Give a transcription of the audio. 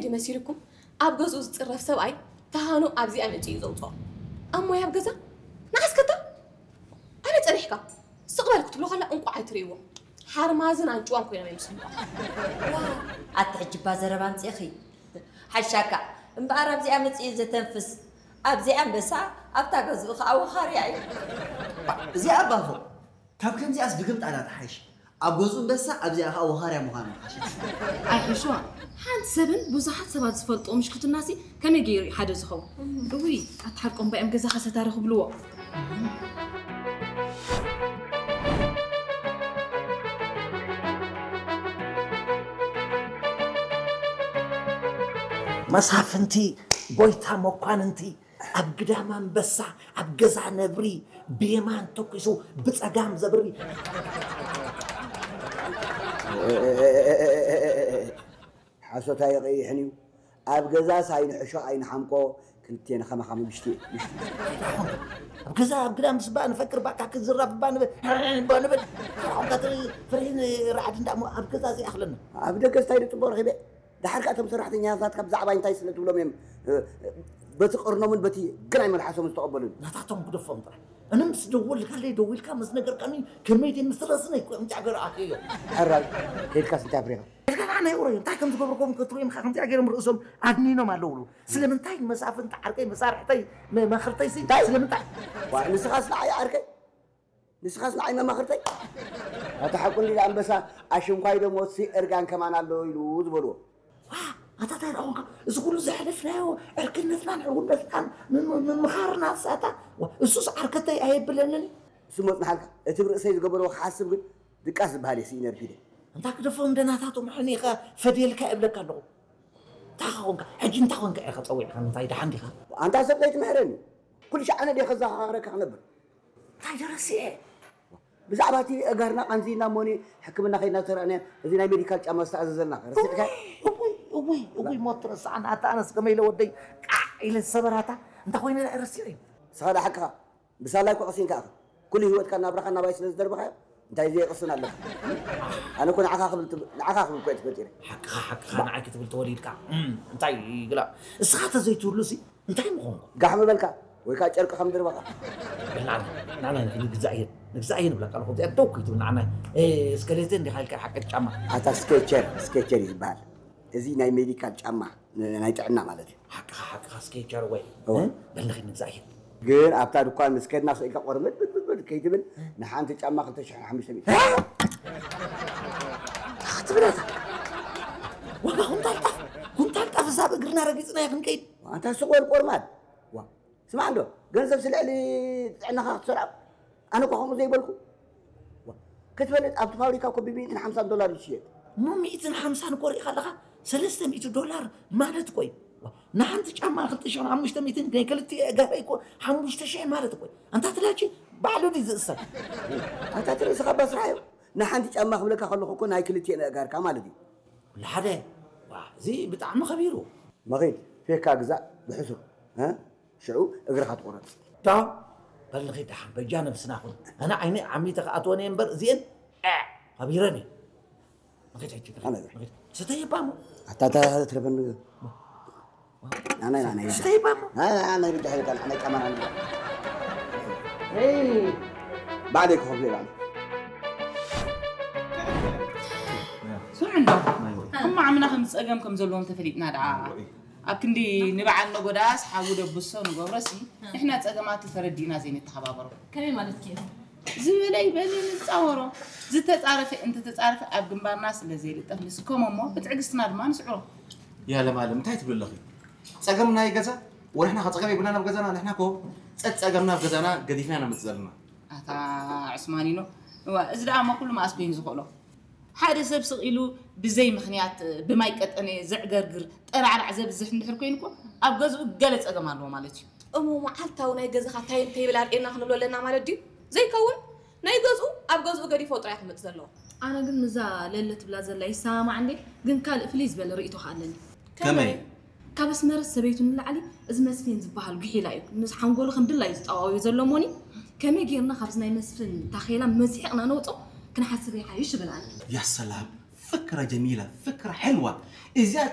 ድዩ መሲልኩም? ኣብ ገዝኡ ዝጽረፍ ሰብኣይ ተሃኑ ኣብዚኣ መጺኡ እዩ ዘውጽኦ። ኣብ ሞያ ኣብ ገዛ ንዓስከታ ኣበይ ጸኒሕካ? ስቕ በል ክትብሎ ከላ እንቋዕ ኣይትርእይዎ። ሓርማዝን ኣንጭዋን ኮይኖም እዮም ዝስምዑ። ኣቲ ሕጂ እባ ዘረባ ኣምጺእኺ ሓሻካ እምበኣር ኣብዚኣ መጺኡ ዘተንፍስ ኣብዚኣ ኣንበሳ ኣብታ ገዝኡ ከዓ ወኻርያ እዩ። እዚኣ ኣባፎ ካብ ከምዚኣስ ድግምጣ ዳ ትሓይሽ። ኣብ ገዝኡ ኣንበሳ ኣብዚኣ ከዓ ወኻርያ ምዃኑ ሓሽት። ኣይሕሽዋ ሓንቲ ሰብን ብዙሓት ሰባት ዝፈልጥዎ ምሽክትናሲ ከመይ ገይሩ እዩ ሓደ ዝኸውን? እውይ ኣቲ ሓቆም ባዮም ገዛ ከሰታሪ ክብልዎ። መሳፍንቲ ጎይታ መኳንንቲ ኣብ ግዳም ኣንበሳ ኣብ ገዛ ነብሪ ብየማን ተኩሱ ብጸጋም ዘብሪ። ሓሶት ኣይቐይሕን እዩ። ኣብ ገዛስ ኣይንሕሾ ኣይንሓምቆ። ክልቴና ከማኻ ምሽቲ ምሽቲ። ኣብ ገዛ ኣብ ግዳም ስባ ንፈክር ባካ ክዝራብ ባ ንብል ባ ንብል። ኣሁን ከትርኢ ፍርሂን ራዕዲ እንዳሞ ኣብ ገዛ ዘይኣኽለና። ኣብ ደገ ስታይ ንጽቦ ረኺበ። ድሓር ከኣ እቶም ሰራሕተኛታት ናትካ ብዛዕባይ እንታይ ስለ ትብሎም እዮም በቲ ቅርኖምን በቲ ግናይ መልሓሶም ዝተቐበሉኒ። ናታቶም ግደፎም ጥራሕ። እነ ምስ ደወልካለይ ደዊልካ ምስ ነገርካኒ ከመይ ድየ ምስ ረስነይ እኮ እዮም ጃገር ኣትዮ። ሕራይ ከይድካስ እንታይ ኣፍሪኻ? ከይድካ ከዓ ናይ ኡረዮ እንታይ ከም ዝገብርኩም ክትርእዮም ከምዚኣ ገይሮም ርእሶም ኣድኒኖም ኣለውሉ። ስለምንታይ መሳፍንቲ ዓርከይ መሳርሕተይ መማኽርተይ ሲ ስለምንታይ? ንስኻስ ንዓይ ዓርከይ ንስኻስ ንዓይ መማኽርተይ ኣታ ሓቁ እንዲ ኣንበሳ ኣሽንኳይ ደሞ ሲ እርጋን ከማን ኣሎ ኢሉ ዝበልዎ ኣታ እንታይ ደኣ ኮንካ እዚ ኩሉ ዘሕለፍናዮ ዕርክነትናን ዕውነትናን ምምኻርና ሳታ እሱስ ዓርከተይ ኣየብለንን እዩ እሱ መፅናሓልካ እቲ ብርእሰይ ዝገበርዎ ክሓስብ ግን ድቃስ ዝበሃል እየ ስኢነ ርፊደ እንታይ ክደፎም ደናታቶም ሕኒኻ ፈድየልካ እብለካ ኣለኹ እንታይ ኾንካ ሕጂ እንታይ ኾንካ ኢኻ ፀዊዕካ እንታይ ደሓን ዲኻ ኣንታ ሰብ ዘይትምሕረኒ ኩሉ ሻዕ ኣነ ድየ ከዘኻኽረካ ክነብር እንታይ ደረሲዐ ብዛዕባ እቲ ኣእጋርና ቃንዚና እሞኒ ሕክምና ከይድና ዝተረኣናዮ እዚ ናይ ሜዲካል ጫማ ዝተኣዘዘልና ረሲዕካ እውይ እውይ እውይ ሞት ትረስዓና ኣታ ኣነስ ከመይ ኢለ ወደይ ቃዕ ኢለ ዝሰበራታ እንታይ ኮይነ ረሲዐ እዩ ንስኻ ዳ ሓቅኻ ብሳላይ እኮ ቀሲንካ ኢኻ ኩሉ ህይወትካ ናብራኻ ናባይ ስለ ዝደርበኻዮ እንታይ ዘየቕስን ኣለካ ኣነ እኮ ንዓኻ ክብል ትብ- ንዓኻ ክብል እኮ እየ ተፈጢረ ሓቅኻ ሓቅኻ ንዓይ ክትብል ተወሊድካ እም፣ እንታይ ግላ እስኻ ተዘይትህሉ ሲ እንታይ ምኾንኩ ጋሕ ምበልካ ወይ ከዓ ጨርቂ ከም ድርበኻ ንዓና ንዓና ንግዛእ እየን ንግዛእ እየን ብለካ ኣለኹ እዚኣ ደው ከይትብል ንዓና እስከሌተ እንዲኻ ኢልካ ሓቂ ጫማ ኣታ ስኬቸር ስኬቸር እዩ ዝበሃል እዚ ናይ ሜዲካል ጫማ ናይ ጥዕና ማለት እዩ ሓቅኻ ሓቅኻ ስኬቸር ወይ በልኺ ንግዛእ እየን ግን ኣብታ ድኳን ምስ ከድና ስኢልካ ቆርምድ ብድብድ ከይትብል ንሓንቲ ጫማ ክልተ ሽሕን ሓሙሽተ ሚእቲ ክትብለታ ዋጋ ኩንታል ጣፍ ኩንታል ጣፍ እዛ ብእግርና ረጊፅና ክንከይድ ኣንታ ስቕ በል ቆርማድ ስማዕ እንዶ ገንዘብ ስልዕሊ ጥዕናኻ ክትሰርዖ ኣነ እኳ ከምኡ ዘይበልኩ ክትፈልጥ ኣብቲ ፋብሪካ እኮ ብሚእትን ሓምሳን ዶላር ይሽየጥ እሞ ሚእትን ሓምሳን እኮ ርኢኻ ኣለኻ ሰለስተ ሚእቲ ዶላር ማለት እኮ እዩ ንሓንቲ ጫማ ክልተ ሽሕን ሓሙሽተ ሚእትን ናይ ክልቲኡ ኣእጋረይ እኮ ሓሙሽተ ሽሕ ማለት እኮ እዩ ኣንታ ትላቺ ባዕሉ ድዩ ዝእሰር ኣንታ ትርእስኻ ባስራሕ እዩ ንሓንቲ ጫማ ክብለካ ከለኹ እኮ ናይ ክልቲኤን ኣእጋርካ ማለት እዩ ኩሉ ሓደ እዚ ብጣዕሚ ከቢሩ መኺድ ፌካ ግዛእ ብሕሱር ሽዑ እግርኻ ትቑረፅ። ዶ በል ንኺድ ደሓን በጃ ነብስና ኹን ኣነ ዓይነይ ዓሚተ ክኣትወን እየ እምበር እዚኤን ዐዕ ሃቢረን እየ። ንኺድ ሕጂ ንኺድ፣ ንኺድ። ስተይ እባ እሞ። ኣታ እታ ትረፈኒ። ናናይ ናናይ ስተይ እባ እሞ። ናናይ ናናይ ብጃ ሄዳ ናናይ ጫማ ናናይ። ባዕለይ ክኸፍሎ እየ ባዕለይ። ስምዑ እንዶ እሞ ዓምና ከም ዝፀገም ከም ዘለዎም ተፈሊጥና ደኣ ኣብ ክንዲ ንበዓል ነጎዳስ ሓዊ ደብሶ ንገብሮሲ ንሕና ፀገማቱ ተረዲእና ዘይንተሓባበሮ ከመይ ማለትኪ ኢኺ? ዝበለ ይበል ንፃወሮ ዝተፃረፈ እንተተፃረፈ ኣብ ግንባርና ስለ ዘይልጠፍ ንስከሞ እሞ ብትዕግስትና ድማ ንስዕሮ። ያ ለማለም እንታይ ትብሊ ኣለኺ? ፀገም ናይ ገዛ ወንሕና ከ ፀገም የብልናን ኣብ ገዛና ንሕና ኮ ፀፀገምና ኣብ ገዛና ገዲፍና ኢና ንመፅእ ዘለና። ኣታ ዑስማኒኖ እዋ እዚ ደኣ እሞ ኩሉ መኣስ ኮይኑ ዝኽእሎ ሓደ ሰብ ስቕ ኢሉ ብዘይ ምኽንያት ብማይ ቀጠነ ዘዕገርግር ጠራዕራዕ ዘብዝሕ እንድሕር ኮይኑ እኮ ኣብ ገዝኡ ገለ ጸገም ኣለዎ ማለት እዩ። እሞ መዓልታዊ ናይ ገዛኻ እንታይ እንታይ ይብል ኣርእየና ክንብሎ ኣለና ማለት ድዩ? ዘይከውን ናይ ገዝኡ ኣብ ገዝኡ ገዲፎ ጥራይ ክመጽእ ዘለዎ። ኣነ ግን ምዛ ለለ ትብላ ዘላ ይሰማማዕ እንዴ ግን ካልእ ፍልይ ዝበለ ርእይቶ ከኣ ኣለኒ። ከመይ? ካብ ኣስመረት ሰበይቱ ንላዕሊ እዚ መስፍን ዝበሃል ጉሒላ እዩ ምስ ሓንጎሉ ከም ድላዩ ዝጠዋውዮ ዘሎ እሞኒ ከመይ ጌርና ካብዚ ናይ መስፍን ታኼላ መዚሕቕና ነውጾ ክንሓስብ ይሓይሽ እብል ኣነ። ያ ሰላም ፍክረ ጀሚላ ፍክረ ሕልዋ እዚኣ